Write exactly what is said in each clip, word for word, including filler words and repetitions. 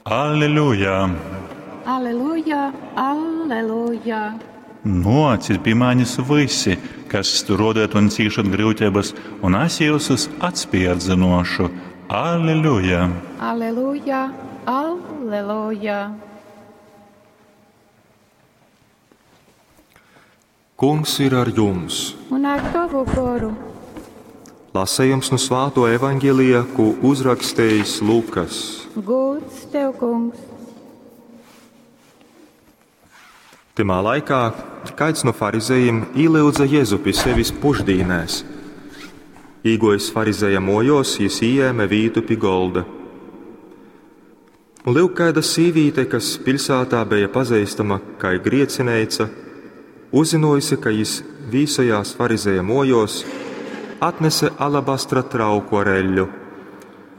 Alleluja! Aleluja, aleluja! Nōcit pi manis vysi, kas strōdojat un cīšat gryuteibas, un es jyusus atspērdzynōšu. Alleluja! Aleluja, aleluja! Kungs ir ar jums! Un ar tavu goru. Lasījums no Svāto evaņģēlija, ko uzrakstījis Lukas. Gūds tev, kungs! Tymā laikā kāds no farizejiem ielūdza Jēzu pie sevis pušdīnēs. Īgojis farizeja mojos, jis ieēma vītu pie golda. Un lūk, kāda sīvīte, kas pilsētā bija pazīstama kā griecineica, uzzinojusi, ka jis vīsojās farizeja mojos, atnese alabastra trauku ar eļļu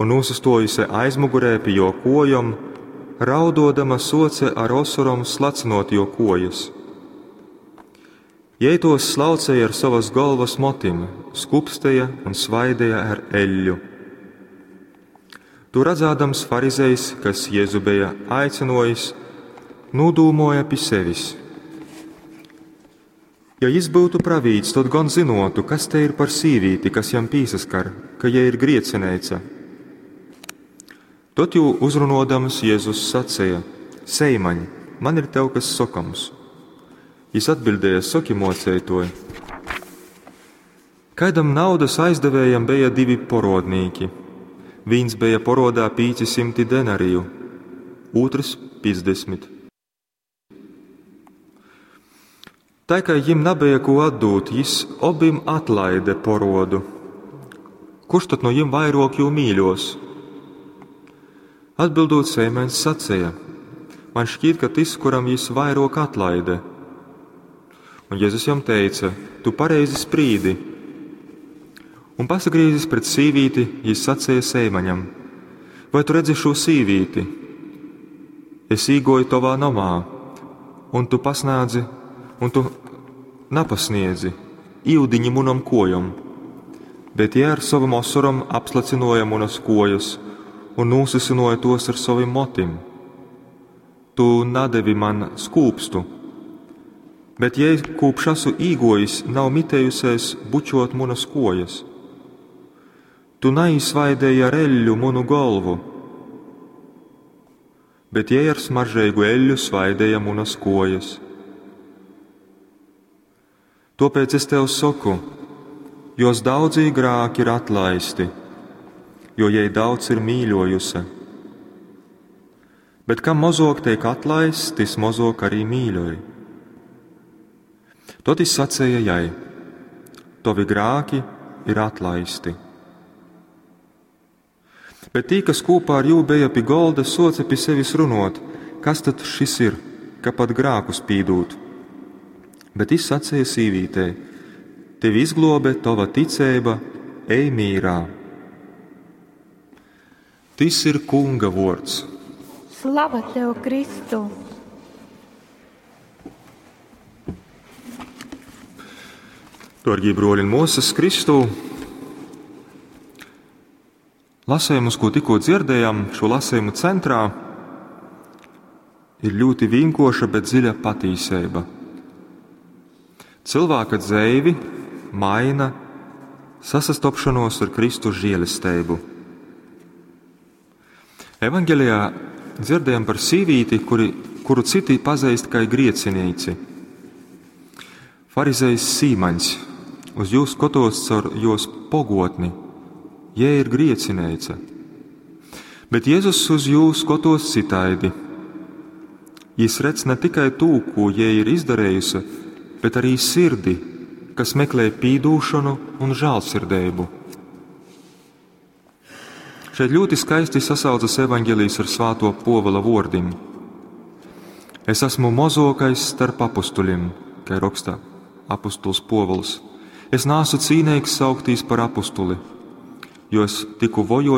un nosastojusi aizmugurē pie jo kojom, raudodama soce ar osorom slacinot jo kojas. Jei tos slaucēja ar savas galvas motim, skupstēja un svaidēja ar eļļu. To redzādams farizejs, kas Jēzu bija aicinojis, nodūmoja pie sevis. Ja jis būtu pravīts, tad gan zinotu, kas te ir par sīvīti, kas jam pīsaskar, ka jai ir griecineica. Tot jū uzrunodams Jēzus sacīja: Seimaņ, man ir tev kas sokams. Jis atbildēja: Soki, mocētoj. Kaidam naudas aizdevējam bija divi porodnīki. Viens bija porodā pīci simti denariju, otrs piecdesmit. Tā kā jim nebija ko atdūt, jis obim atlaide porodu. Kurš tad no jim vairāk jū mīļos? Atbildot, Sēmēns sacīja: Man šķiet, ka tas, kuram jis vairāk atlaide. Un Jēzus jam teica: Tu pareizi sprīdi. Un pasagrīzis pret sīvīti, jis sacīja Sēmaņam: Vai tu redzi šo sīvīti? Es īgoju tavā namā, un tu pasnādzi, un tu napasniedzi īudiņi munam kojom, bet jie ar savam osorom apslacinoja munas kojas un nūsisinoja tos ar savim motim. Tu nadevi man skūpstu, bet jei kūpš asu īgojis, nav mitējusies bučot munas kojas. Tu naizsvaidēji ar eļļu munu galvu, bet jei ar smaržīgu eļļu svaidēja munas kojas. Tāpēc es tev saku, jos daudzī grāki ir atlaisti, jo jai daudz ir mīļojusi. Bet kam mozok tiek atlaists, tis mozok arī mīļoj. Tot jis sacīja jai: Tavi grāki ir atlaisti. Bet tī, kas kopā ar jū bija pie golda, soce pie sevis runot, kas tad šis ir, ka pat grākus pīdūt. Bet jis sacīja sīvītei: Tevi izglobe tava ticība, ej mīrā. Tis ir kunga vords. Slava tev, Kristu! Dārgie broļi un māsas Kristū, lasījumus, ko tikko dzirdējām, šo lasījumu centrā ir ļoti vienkoša, bet dziļa patīsība. Cilvēka dzeivi maina sasastopšanos ar Kristus žēlestību. Evangelijā dzirdējam par sīvīti, kuri, kuru citi pazīst kā griecinīci. Farizejs Sīmaņs uz jūs skatos caur jos pogotni, jē ir griecineica. Bet Jēzus uz jūs skatos citaidi. Jis redz ne tikai tū, ko jē ir izdarējusi, bet arī sirdi, kas meklē pīdūšanu un žēlsirdību. Šeit ļoti skaisti sasaucas evaņģēlijs ar svāto Povila vordim. Es esmu mozokais starp apustuļiem, kā raksta apustuls Povils. Es nāsu cīnīgs sauktīs par apustuli, jo es tiku vojots